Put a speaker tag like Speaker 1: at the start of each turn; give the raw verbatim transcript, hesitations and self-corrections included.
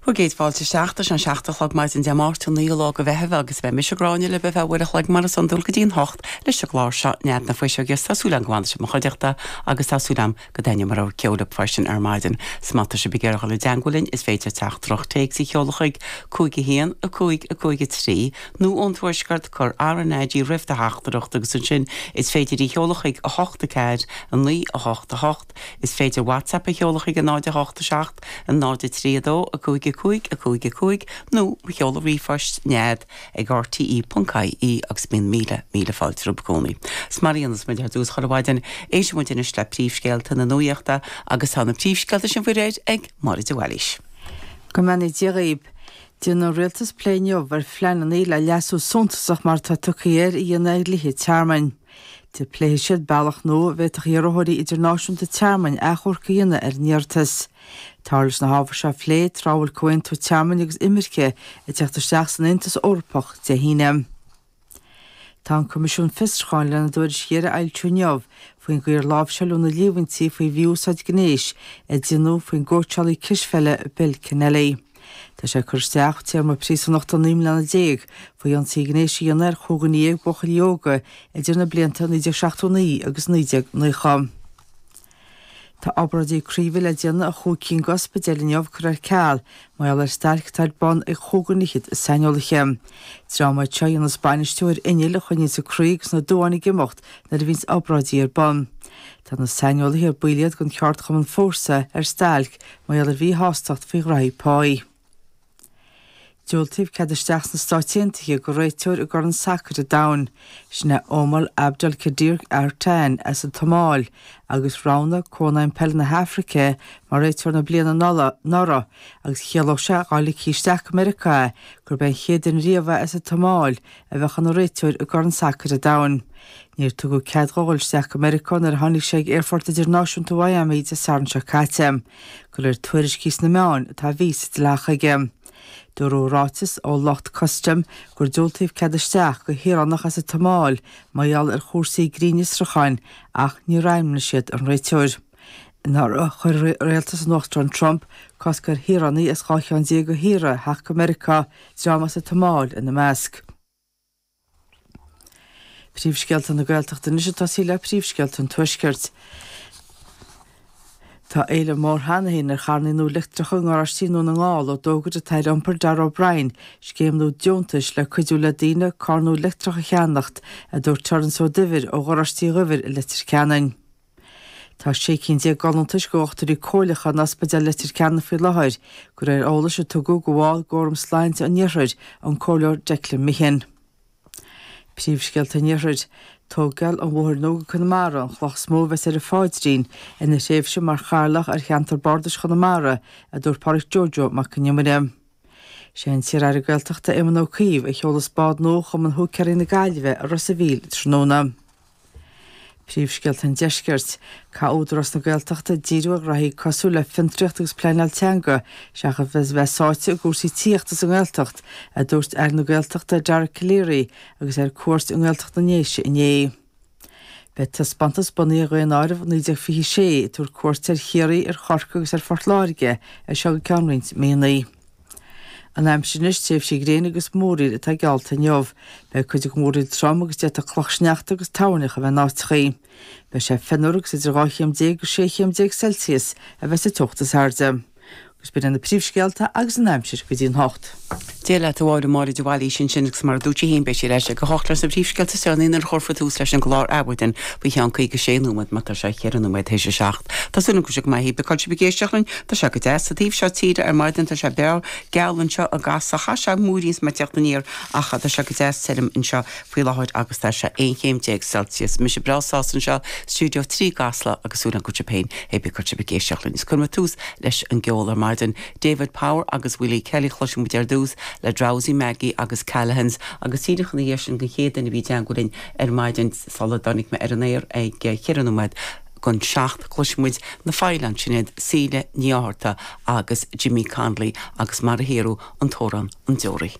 Speaker 1: Bhur gcéad fáilte isteach tá sé an seacht a chlog maidin Dé Máirt an naoú lá de Mheitheamh agus beidh mise Gráinne libh ar feadh uair a chloig mar is iondúil go dtí an hocht leis an gclár seo Nead na Fuiseoige Tá súil agam go bhfanfaidh sibh i mo chuideachta agus tá súil agam go dtaitneoidh mo rogha ceoil libh freisin ar maidin. 'S má tá sibh ag iarraidh dul i dteagmháil linn is féidir teachtaireacht téacs a sheoladh chuig cúig a haon a cúig a cúig a trí nó ón tuaisceart cuir RnaG roimh do theachtaireacht agus ansin is féidir í sheoladh chuig a hocht a ceathair a naoi a hocht a hocht is féidir WhatsApp a sheoladh chuig a náid a hocht a seacht a náid a trí a dó a cúig a cúig a cúig a cúig nó mo sheoladh ríomhphoist nead ag rte.ie agus bíonn míle míle fáilte romhaibh i gcónaí. 'S mar a dhéanas muid ar dtús chuile mhaidin éistfidh muid anois le príomhscéalta na nuachta agus tá na príomhscéalta sin faoi réir ag Máire de Bhailís.
Speaker 2: Go mbeannaí Dia dhaoibh. Déanfaidh an rialtas plé inniu ar phleananna le leasú suntasach mar atá tugtha air a dhéanamh ar dhlíthe tearmainn. Pléifidh siad bealach nua a bhféadfadh iarrthóirí idirnáisiúnta tearmainn achomharc a dhéanamh ar a n-iarratas. Táthar leis na hábhair seo a phlé tráth a bhfuil comhaontú tearmainn agus imirce ag teacht isteach san Aontas Eorpach Dé hAoine. Tá an Coimisiún Fiosrúcháin lena dtuairisc dheiridh a fhoilsiú inniu faoin gcaoi ar láimhseáladh na líomhaintí faoi mhí-úsáid gnéis a déanadh faoin gcóitseálaí cispheile Bill Kennelly. Tá sé ag cur isteach téarma príosúnachta naoi mbliana déag faoi ionsaí gnéis a dhéanamh ar chúig dhuine dhéag buachaillí óga idir na blianta naoi déag seachtó naoi agus naoi déag nócha. Tá obráidí craoibhe le déanamh i chúig cinn d'ospidéil inniu curtha ar ceal mar gheall ar stailc atá ar bun ag chúig dhuine fhichead saineolaithe. Dream iad seo a dhéanas bainistiú ar innill a choinníonns an croí agus na duáin ag imeacht nuair a bhíonns obráidí ar bun. Tá na saineolaithe ar baill iad den cheardchumann Fórsa ar stailc mar gheall ar mhíshástacht faoi ghraithí páí. Diúltaíodh cead isteach sna Stáit Aontaithe do réiteoir i gCorn Sacair an Domhain. Sin é Omar Abdulkadir Artan as an tSomáil agus roghnaigh Cónaidhm Peile na hAfraice mar réiteoir na bliana anuraidh agus chiallódh sé dá ligfí isteach go Meiriceá é gurb é an chéad duine riamh é as an tSomáil a bheadh ina réiteoir i gCorn Sacair an Domhain. Níor tugadh cead dhó dhul isteach go Meiriceá nuair a tháinig sé ag Aerfort Idirnáisiúnta Mhiami Dé Sathairn seo caite. De réir tuairiscí sna meáin tá víosa dleathach aige. Dúradh i ráiteas ó lucht custaim gur diúltaíodh cead isteach do shaoránach as an tSomáil mar gheall ar chúrsaí grinnfhiosrúcháin ach níor ainmnigh siad an réiteoir. Anuraidh chuir rialtas an Uachtaráin Trump cosc ar shaoránaigh as dhá cheann déag de thíortha theacht go Meiriceá, dream as an tSomáil ina measc. Príomhscéalta na Gaeltachta anois ag tosaí le príomhscéalta an Tuaiscirt. Tá éileamh mór cheana féin ar charranna nua leictreacha i ngaráistí i nDún na nGall ó d'fhógair an tAire Iompair Darragh O'Brien scéim nua deontais le cuidiú le daoine carr nua leictreach a cheannacht, a dúirt Terence Ó Duibhir ó Gharáistí Dhuibhir i Leitir Ceanainn. Tá sé cinn déag d'fholúntais do dhochtúirí comhairleacha in Ospidéal Leitir Ceanainn faoi láthair, de réir eolais a tugadh do bhall d'Fhóram Sláinte an Iarthair, an Comhairleoir Declan Meehan. Príomhscéalta an Iarthair, Tógáil an bhóthair nua go Conamara an chloch is mó a bheas ar a phaidrín ina thréimhse mar chathaoirleach ar cheantar bardais Chonamara, a dúirt Pádraic Joe Joe Mac an Iomaire. Sé an t-iar-aire Gaeltachta Éamon Ó Cuív a sheolas bád nua Chumann Húicéirí na Gaillimhe i Ros a' Mhíl tráthnóna. Príomhscéalta an Deiscirt, Caithfidh Údarás na Gaeltachta díriú ar ghraithí cosúil le fiontraíocht agus pleanáil teanga seachas a bheith sáite i gcúrsaí tithíochta sa nGaeltacht, a dúirt Aire na Gaeltachta Dara Calleary agus é ar cuairt i nGaeltacht na nDéise inné. Beidh taispeántas bunaithe ar Dhaonáireamh naoi déag fiche a sé ag tabhairt cuairt ar Chiarraí, ar Chorcaigh agus ar Phort Láirge as seo go ceann roinnt míonna. An aimsir anois, tréimhsí gréine agus múraíl atá geallta inniu. Beidh cuid den mhúraíl trom agus d'fhéadfadh clochshneachta agus toirneach a bheith in áiteachaí. Beidh sé fionnuar agus idir dhá chéim déag agus sé chéim déag Celsius a bheas sa teocht is airde. Agus b'in iad na príomhscéalta agus an aimsir go dtí an hocht.
Speaker 1: Dia leat a Mháire, Máire de Bhailís ansin agus mar a dúirt sí féin beidh sí ar ais ag a hocht leis na príomhscéalta is deireanaí nuair a chuirfear tús leis an gclár Adhmhaidin faoi cheann caoga sé nóiméad mar tá sé cheithre nóiméad théis a seacht. Tá súil agam go bhfuil sibh go maith, cibé cá bhfuil sibh ag éisteacht linn, tá sé go deas sa taobh seo tíre ar maidin, tá sé breá geal anseo i gCasla, chaith sé múirín is mé ag teacht aniar ach tá sé go deas tirim anseo faoi láthair agus tá sé aon chéim déag Celsius. Mise breá sásta anseo, Stiúideo trí i gCasla agus súil agam go bhfuil sibh féin, cibé cá bhfuil sibh ag éisteacht linn. Is cuirfidh muid tús leis an gceol ar maidin. David Power agus Willie Kelly chloisfidh muid ar dtús le Drowsy Maggie agus Callaghan's agus díreach ina dhiaidh sin don chéad duine a bhí i dteagmháil linn ar maidin sula dtáinig mé ar an aer ag ceithre nóiméad don seacht. Cloisfidh muid na Faoileáin, sin iad Síle Ní Fhátharta agus Jimmy Connolly agus mar a thiarú an t-amhrán An Deoraí.